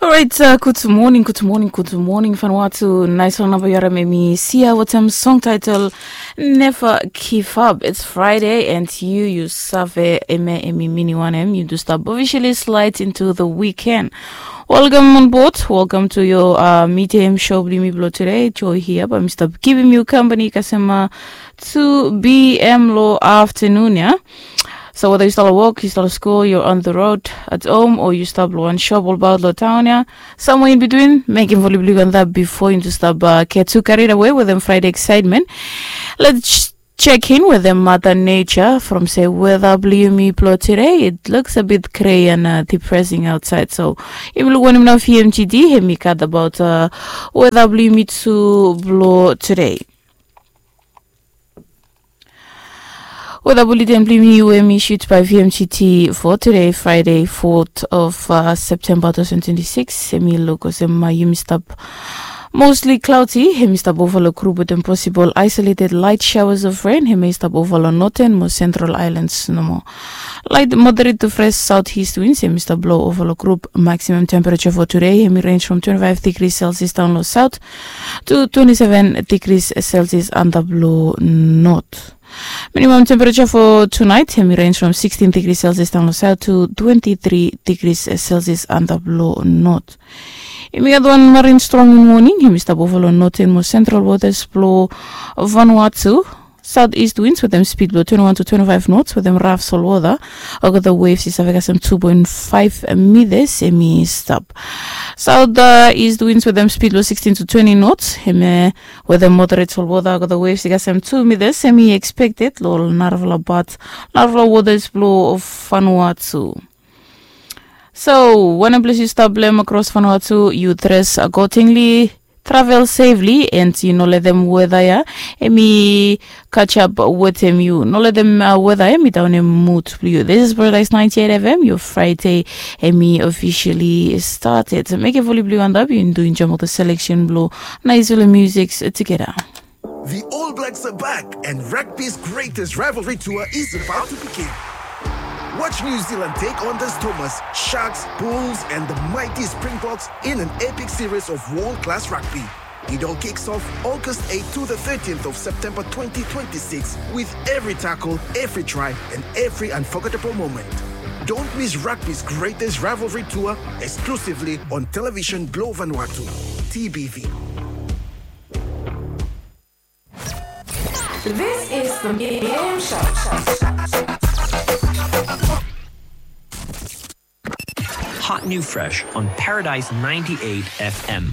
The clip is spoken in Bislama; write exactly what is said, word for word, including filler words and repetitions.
Orait, uh, gud moning, gud moning, gud moning Vanuatu. Naisfala namba yu harim, hemi Sia wetem song title Never Give Up. It's Friday and yu, yu save hemia hemi minim wanem, yu do stap officially slide into the weekend. Welcome on board, welcome to your uh, midday show blong yumi blong today. Joy hia, bae mi stap givim yu company kasem uh, two p.m. long afternoon ia. So weda yu stap long wok, yu stap long skul, yu on the road, at home, o yu stap long wan shop olbaot long taon ia, somewhere in between, mekem volume blong yu antap bifo yu stap uh, get too carried away wetem Friday excitement. Let's check in wetem Mother Nature from se weda blong yumi blong today. It looks a bit grey and uh, depressing outside, so yumi luk wanem nao V M G D hemi gat abaot uh, weda blong yumi tu blong today. Weda buleten blong yumi we hemi issued by V M G T for today, Friday, fourth of uh, September twenty twenty-six. Hemi luk olsem uh, yumi stap mostly cloudy, hemi stap ova long grup wetem possible isolated light showers of rain, hemi stap ova long northern mo central islands nomo. Light moderate to fresh southeast winds hemi stap blo ova long grup. Maximum temperature for today hemi range from twenty-five degrees Celsius down long south to twenty-seven degrees Celsius antap long north. Minimum temperature for tonight hemi range from sixteen degrees Celsius down long south to twenty-three degrees Celsius antap long north. Yumi gat wan marine storm in morning, hemi stap ova long northern mo central waters blo Vanuatu. Southeast winds wetem speed blo twenty-one to twenty-five knots wetem rough solwota. Olgeta waves i save kasem two point five meters, hemi stap. South uh, east winds wetem speed blo sixteen to twenty knots, hemi wetem moderate solwota. Olgeta waves i kasem two meters, hemi expected lo narafala pat, narafala waters blo Vanuatu. So wanem ples yu stap long across Vanuatu, yu dress accordingly, travel safely, and yu no letem weta ia hemi catch up wetem yu. No letem uh, weta ia hemi downem mood blo yu. This is Paradise ninety-eight F M. Your Friday hemi officially started. Mekem volume blo yu antap, yu do enjoy mo the selection blo naisfala music together. The All Blacks are back, and rugby's greatest rivalry tour is about to begin. Watch New Zealand take on the Stormers, Sharks, Bulls, and the mighty Springboks in an epic series of world-class rugby. It all kicks off August eighth to the thirteenth of September twenty twenty-six, with every tackle, every try, and every unforgettable moment. Don't miss rugby's greatest rivalry tour, exclusively on Television Blo Vanuatu, T B V. This is the Medium Show. Hot new fresh on Paradise ninety-eight F M.